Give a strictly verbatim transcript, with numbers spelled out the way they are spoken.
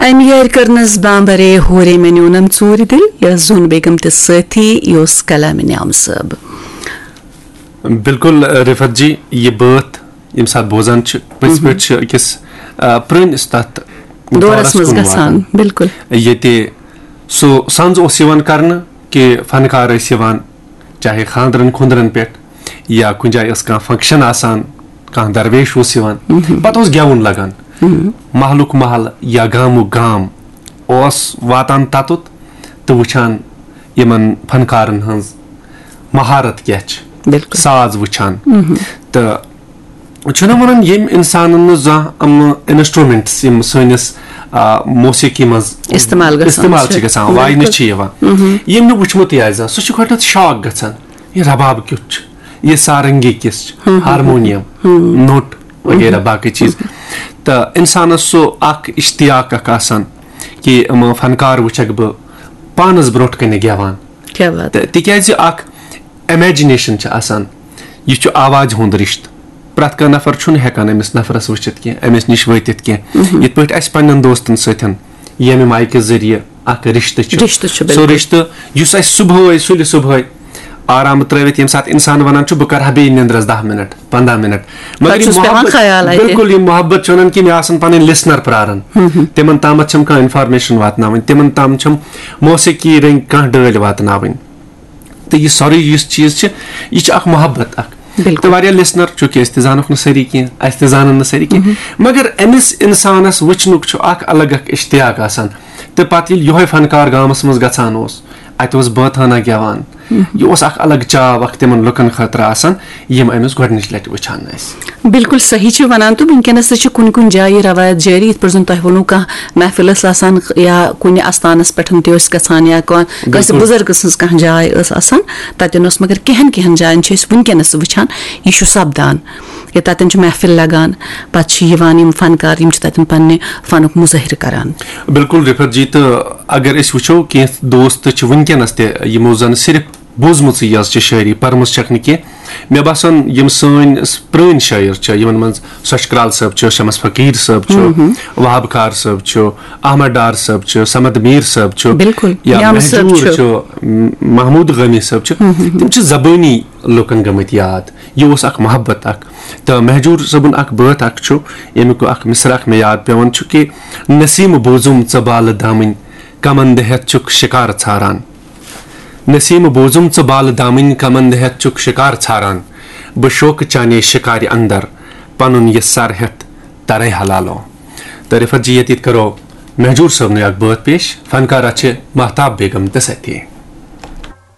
امہِ یارِ کٔرنس بامبرے ہورے مےٚ نیونم ژوٗرِ دِل، یۄس زوٗن بیگم تہِ سٲتھی، یہِ اوس کلامِ نعم صٲب۔ بِلکُل، رفعت جی، یہِ بٲتھ ییٚمہِ ساتہٕ بوزان چھِ، پٔزۍ پٲٹھۍ چھِ أکِس، آ، پرٛٲنِس تَتھ دورس منٛز کُن گژھان، واتان۔ بِلکُل۔ ییٚتہِ سُہ سنٛز اوس یِوان کرنہٕ کہِ فنکار ٲسۍ یِوان، چاہے خانٛدرن خُنٛدرن پٮ۪ٹھ یا کُنہِ جایہِ ٲس کانٛہہ function آسان، کانٛہہ درویش اوس یِوان، پتہٕ اوس گٮ۪وُن لگان۔ محلُک محل یا گامُک گام اوس واتان تَتُتھ تہٕ وٕچھان یِمن فنکارن ہٕنٛز مہارت کیٛاہ چھِ، بِلکُل۔ ساز وٕچھان۔ تہٕ چھُنہ وَنان، ییٚمۍ اِنسانن نہٕ زانٛہہ یِم instruments یِم سٲنِس، آ، موسیقی منٛز استعمال گژھان استعمال چھِ۔ چھِ گژھان، واینہٕ بِلکُل۔ چھِ یِوان، ییٚمۍ نہٕ وٕچھمُتٕے آسہِ زانٛہہ، سُہ چھُ گۄڈٕنٮ۪تھ shock گژھان، یہِ رباب کیُتھ چھُ، یہِ سارنگی کِژھ چھِ، ہارمونیم، نوٚٹ وغیرہ باقٕے چیٖز۔ تہٕ اِنسانَس سُہ اکھ اشتیاق اکھ آسان کہِ یِم فنکار وٕچھکھ بہٕ پانَس برونٛٹھ کَنہِ گٮ۪وان۔ کیٛاہ بات۔ تہٕ تِکیٛازِ اکھ imagination چھِ آسان، یہِ چھُ آوازِ ہُنٛد رِشتہٕ۔ پرٛٮ۪تھ کانٛہہ نفر چھُنہٕ ہٮ۪کان أمِس نفرَس وٕچھِتھ کینٛہہ، أمِس نِش وٲتِتھ کینٛہہ۔ یِتھ پٲٹھۍ اَسہِ پنٛنٮ۪ن دوستَن سۭتۍ ییٚمہِ micہِ ذٔریعہٕ اکھ رِشتہٕ چھُ، رِشتہٕ چھُ، سُہ بِلکُل۔ رِشتہٕ یُس اَسہِ صُبحٲے، سُلہِ صُبحٲے آرام ترٲوِتھ، ییٚمہِ ساتہٕ اِنسان وَنان چھُ، "بہٕ کَرٕ ہا بیٚیہِ نِندرَس دَہ مِنٹ، پنٛداہ مِنٹ"، مگر پَتہٕ یہِ چھُس پٮ۪وان محبت، خیال اَتہِ۔ بِلکُل، یہِ محبت چھُ وَنان کہِ مےٚ آسَن پَنٕنۍ listener پرٛاران۔ تِمَن تامَتھ چھَم کانٛہہ information واتناوٕنۍ، تِمَن تام چھَم موسیقی رٔنٛگۍ کانٛہہ ڈٲلۍ واتناوٕنۍ۔ تہٕ یہِ سورُے یُس چیٖز چھِ، یہِ چھِ اکھ محبت اکھ۔ بِلکُل۔ تہٕ واریاہ listener، چوٗنٛکہِ أسۍ تہِ زانوکھ نہٕ سٲری کینٛہہ، اَسہِ تہِ زانن نہٕ سٲری کینٛہہ، مگر أمِس اِنسانَس وٕچھنُک چھُ اکھ الگ اکھ اشتیاق آسان۔ تہٕ پَتہٕ ییٚلہِ یِہوٚے فنکار گامَس منٛز گژھان اوس، اَتہِ اوس بٲتھانہ گٮ۪وان، یہِ اوس اکھ الگ چاو اکھ تِمن لُکن خٲطرٕ آسان، یِم أمِس گۄڈٕنِچ لٹہِ وٕچھان ٲسۍ۔ بِلکُل صحیح چھِ وَنان تہٕ وٕنکیٚنَس تہِ چھِ کُنہِ کُنہِ جایہِ یہِ رٮ۪وایت جٲری، یِتھ پٲٹھۍ زَن تۄہہِ ووٚنوُ، کانٛہہ محفِل ٲس آسان یا کُنہِ اَستانَس پٮ۪ٹھ تہِ ٲسۍ گژھان یا کانٛہہ کٲنٛسہِ بِلکُل۔ بُزرگہٕ سٕنٛز کانٛہہ جاے ٲس آسان، تَتٮ۪ن اوس، مگر کینٛہَن کینٛہَن جایَن چھِ أسۍ وٕنکیٚنَس وٕچھان، یہِ چھُ سَپدان کہِ تَتٮ۪ن چھُ محفِل لَگان، پَتہٕ چھِ یِوان یِم فنکار، یِم چھِ تَتٮ۪ن پنٛنہِ فنُک مُظٲہرٕ کَران۔ بِلکُل رِفعت جی، تہٕ اگر أسۍ وٕچھو، کینٛہہ دوست چھِ وٕنکیٚنَس تہِ یِمو زَن صرف بوٗزمٕژٕے یٲژ چھِ شٲعری، پٔرمٕژ چھَکھ نہٕ کینٛہہ۔ مےٚ باسان، یِم سٲنۍ س-، پرٛٲنۍ شٲعر چھِ، یِمَن منٛز سۄچھ کرٛال صٲب چھُ، شمس فقیٖر صٲب چھُ، وہاب کار صٲب چھُ، احمد ڈار صٲب چھُ، صمد میٖر صٲب چھُ، بِلکُل۔ یا یامہٕ صٲب مہجوٗر چھُ۔ چھُ، م-، محمود غٲمی صٲب چھُ، تِم چھِ زبٲنی لُکَن گٔمٕتۍ یاد۔ یہِ اوس اکھ محبت اکھ۔ تہٕ مہجوٗر صٲبُن اکھ بٲتھ اکھ چھُ، ییٚمیُک اکھ مصرع اکھ مےٚ یاد پٮ۪وان چھُ کہِ، "نسیٖم بوٗزُم ژٕ بالہٕ دامٕنۍ، کمن دِ ہٮ۪تھ چھُکھ شِکار ژھاران۔" نسیٖم بوٗزُم ژٕ بالہٕ دامٕنۍ، کمن دِ ہٮ۪تھ چھُکھ شِکار ژھاران۔ بہٕ شوقہٕ چانے شِکارِ اندر، پنُن یہِ سر ہٮ۪تھ ترے حلالو۔ تہٕ رِفعت جی، ییٚتہِ کرو مہجوٗر صٲبنُے اکھ بٲتھ پیش، فنکارہ چھِ مہتاب بیگم تہٕ ستی۔